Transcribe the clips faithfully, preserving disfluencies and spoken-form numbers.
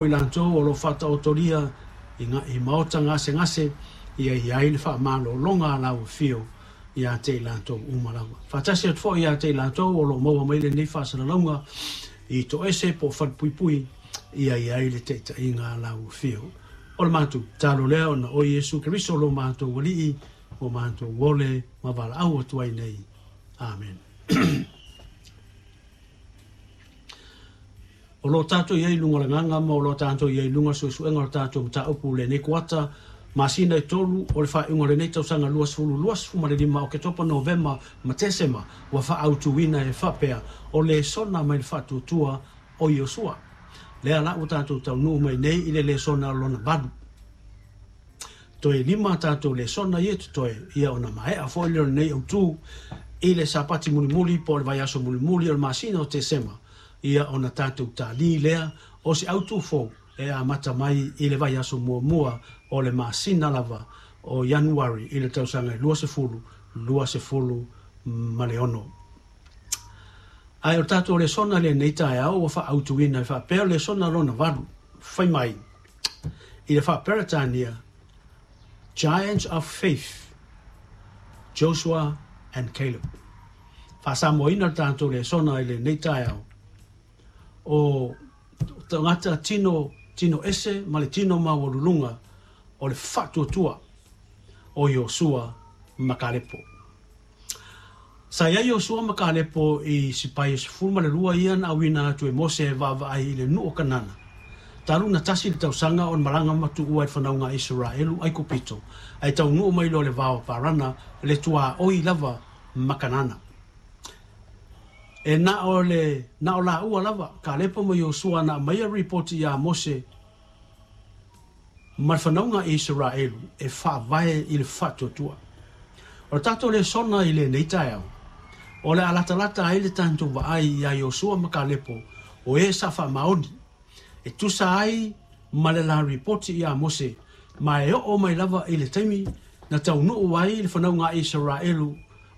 I latou o lo o faataotolia i, i maota gasegase, ia i ai le faamalologa a lau afio ia te i latou uma lava. Faatasi atu foi ia te i latou o lo o maua mai lenei faasalalauga i toese po o falepuipui, ia i ai le taitaiga a lau afio. O le matou tatalo lea ona o Iesu Keriso lo matou Alii ua matou ole ma valaau atu ai nei. Amen. O lo o tatou i ai i luga o le agaga ma o lo o tatou i ai i luga o le suesuega o le tatou mataupu i lenei kuata masina e tolu o le faaiuga o lenei tausaga luasefulu luasefulu lima, Oketopa, Novema ma Tesema, ua faaautuina e faapea o lesona mai le faatuatua o Iosua. Lea la ua tatou taunuu mai nei i le lesona lona valu. Toe lima tatou lesona ia totoe, ia ona maea foi lea o lenei autu i le Sapati mulimuli po o le vaiaso mulimuli o le masina o Tesema, ia ona tatou tali lea o se autu fou e amata mai i le vaiaso muamua o le masina lava o Ianuari i le tausaga luasefulu luasefulu ma le ono. Ae o tatou lesona lenei taeao ua faaautuina e faapea o lesona lona valu, fai mai i le faaperetania Giants of Faith, Joshua and Caleb. Faasamoaina le tatou lesona i lenei taeao o tagata tino, tino ese ma le tino maualuluga o le faatuatua o Iosua ma Kalepo. Sa i ai Iosua ma Kalepo i sipai e sefulu ma le lua ia na auina atu e Mose e vaavaai i le nuu o Kanana. Talu na tasi le tausaga o le malaga matuua i le fanauga a Isaraelu Aikupito, ae taunuu mai loa le vao o Parana le tuaoi lava ma Kanana. E na o le na o laua lava Kalepo ma Iosua na aumaia ripoti ia Mose ma le fanauga a Isaraelu e faavae i le faatuatua. O le tatou lesona i lenei taeao, o le a latalata ai le tatou vaai ia Iosua ma Kalepo o e sa faamaoni e tusa ai ma le la ripoti ia Mose, ma e oo mai lava i le taimi na taunuu ai le fanauga a Isaraelu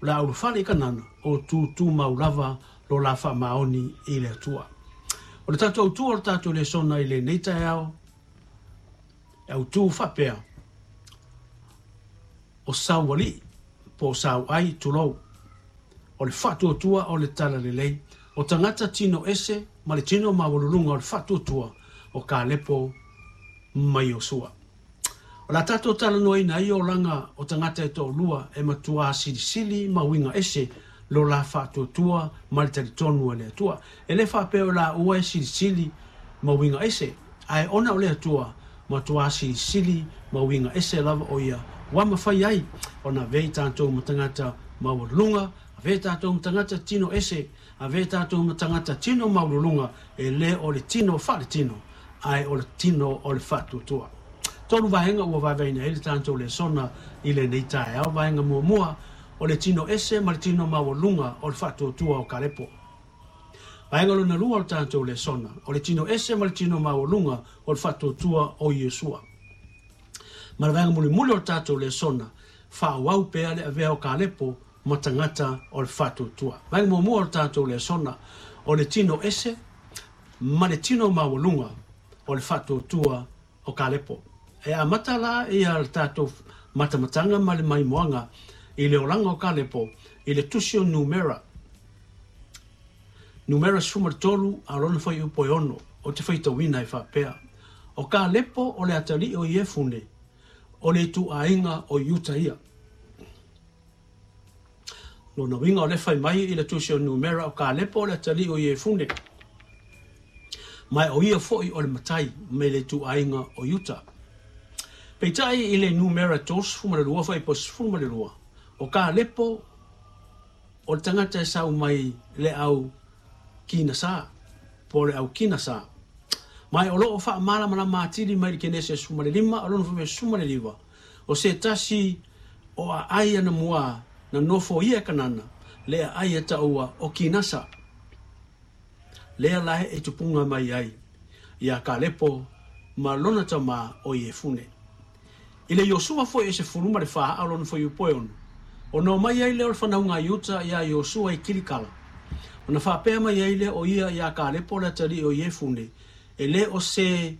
o le a ulufale i Kanana o tutumau lava lo la faamaoni i le Atua. O le tatou autu o le tatou lesona i lenei taeao, e autu faapea o saualii po o sauai tulou, o le faatuatua o le talalelei, o tagata tino ese ma le tino maualuluga o le faatuatua o Kalepo ma Iosua. O la tatou talanoaina ai olaga o tagata e toalua e matua silisili ma uiga ese lo la faatuatua ma le talitonu a le Atua. E le faapea o laua e silisili ma uiga ese, ae ona o le Atua matua silisili ma uiga ese lava o ia ua mafai ai ona avea i tatou ma tagata maualuluga, avea i tatou ma tagata tino ese, avea i tatou ma tagata tino maualuluga, e le o le tino faaletino, ae o le tino o le faatuatua. Tolu vaega ua vaevaeina ai le tatou lesona i lenei taeao. Vaega muamua, o le tino ese ma le tino maualuga o le faatuatua o Kalepo. Vaega lona lua o le tatou lesona, o le tino ese ma le tino maualuga o le faatuatua o Iosua. Ma le vaega mulimuli o le tatou lesona, faaauau pea le avea o Kalepo ma tagata o le faatuatua. Vaega muamua o le tatou lesona, o le tino ese ma le tino maualuga o le faatuatua o Kalepo. E amata la ia le tatou matamataga ma le maimoaga i le olaga o Kalepo i le tusi o Numera. Numera sefulu ma le tolu a lona fuaiupu e ono o te faitauina e faapea. O Kalepo o le atalii o Iefune, o le ituaiga o Iuta ia. Lona uiga o le fai mai i le tusi o Numera o Kalepo o le atalii o Iefune, ma o ia foi o le matai mai le ituaiga o Iuta. Peitai i le Numera tolusefulu ma le lua fuaiupu sefulu ma le lua, o Kalepo o le tagata e sau mai le au Kinasa, po o le au Kinasa. Ma o loo faamalamalama atili mai le Kenese sefulu ma le lima, o lona fuaiupu sefulu ma le liva, o se tasi o aai anamua na nofo ia e Kanana, le aai e taua o Kinasa. Lea la e tupunga mai ai ia Kalepo ma lona tama o Iefune. I le Iosua foi e sefulu ma le fa a lona fuaiupu e ono, ona omai ai lea o le fanauga a Iuta ia Iosua i Kilikala. Ona faapea mai ai lea o ia ia Kalepo le atalii o Iefune, e le o se